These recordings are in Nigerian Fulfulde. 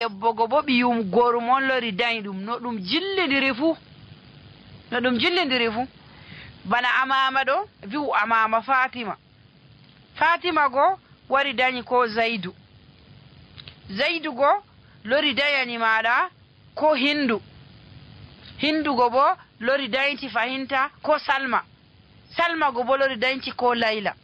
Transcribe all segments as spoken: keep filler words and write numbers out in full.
debbo go bo ɓiyum gorum on lori dañi ɗum no ɗum jillidiri fuu no ɗum jillidiri fuu bana amama ɗo wi'u amama fatima fatima go wari dañi ko zaidu zaidu go lori dañani maɗa ko hindu hindu go bo lori dañti fahinta ko salma salma go bo lori dañti ko layla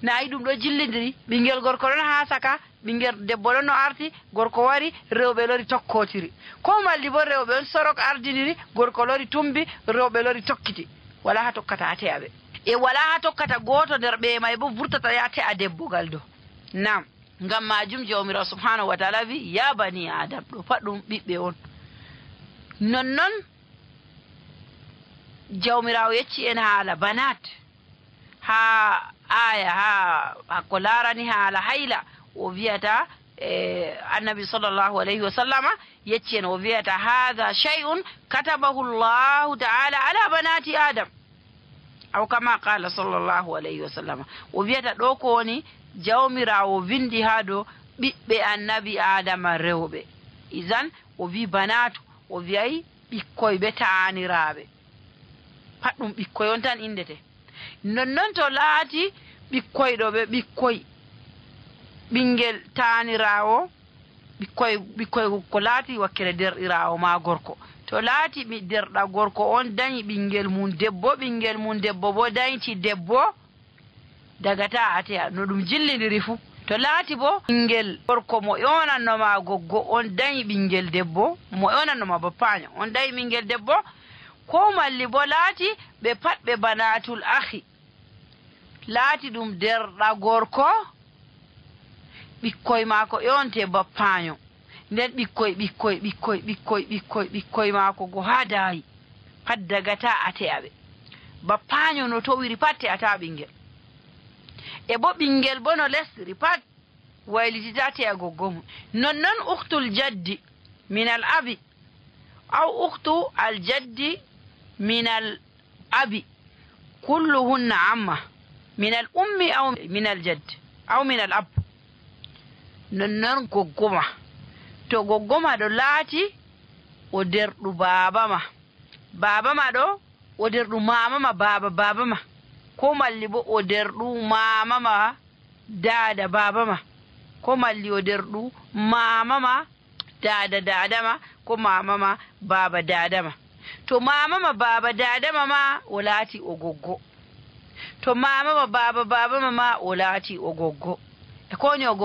nayi ɗum ɗo jillidiri ɓingel gorko ɗon ha saka ɓingel debbo ɗon no arti gorko wari rewɓe lori tokkotiri ko malli bo rewɓe on sorok ardiniri gorko lori tumbi rewɓe lori tokkiti wala ha tokkata ate aɓe e wala ha tokkata goto nder ɓe may bo vurtata yate a debbogal ɗo nam ngam majum jawmirawo subhanahu wa taala wi ya bani adam ɗo pat ɗum ɓiɓɓe on nonnon jawmirawo yecci en haala banat ha aya ha ko larani haala hayla o wiyata e annabi sallllahu alayhi wa sallama yecci en o wiyata hadha shay'un katabahu llahu taala ala banati adam aw kama qala sallllahu alayhi wa sallama o wiyata ɗo ko woni jawmirawo windi ha dow ɓiɓɓe annabi adama rewɓe isan o wi banatu o wiyay ɓikkoy ɓe taaniraɓe pat ɗum ɓikkoy on tan indete nonnon to laati ɓikkoy ɗo ɓe ɓikkoy ɓingel taanirawo ɓikkoy ɓikkoy ko laati wakkere derɗirawo ma gorko to laati mi derɗa gorko on dañi ɓingel mum debbo ɓingel mum debbo bo dañti debbo dagata ate no ɗum jillidiri fuu to laati bo ɓingel gorko mo yonannoma goggo on dañi ɓingel debbo mo yonannoma bappaño on dañi ɓingel debbo ko malli bo laati ɓe pat ɓe banatul ahi laati ɗum derɗa gorko ɓikkoy maako yonte bappaño nden ɓikkoy ɓikkoy ɓikkoy ɓikkoy ɓikkoy ɓikkoy maako go ha daayi pat dagata ate aɓe bappaño no towiri pat te ata ɓingel e bo ɓingel bo no lesri pat waylitita te a goggo mum nonnon uktul jaddi min al abi aw uktu al jaddi min al abi kulluhunna amma min al ummi aw min al jaddi aw min al ab nonnon goggoma to goggoma ɗo laati o derɗu baaba ma baaba ma ɗo o derɗu mama ma baaba baaba ma ko malli bo o derɗu mama ma daada baaba ma ko malli o derɗu mama ma daada daada ma ko mama ma baaba daada ma to mama ma baaba daada ma ma o laati o goggo to mama ma baaba baaba ma ma o laati o goggo e ko ni o goggo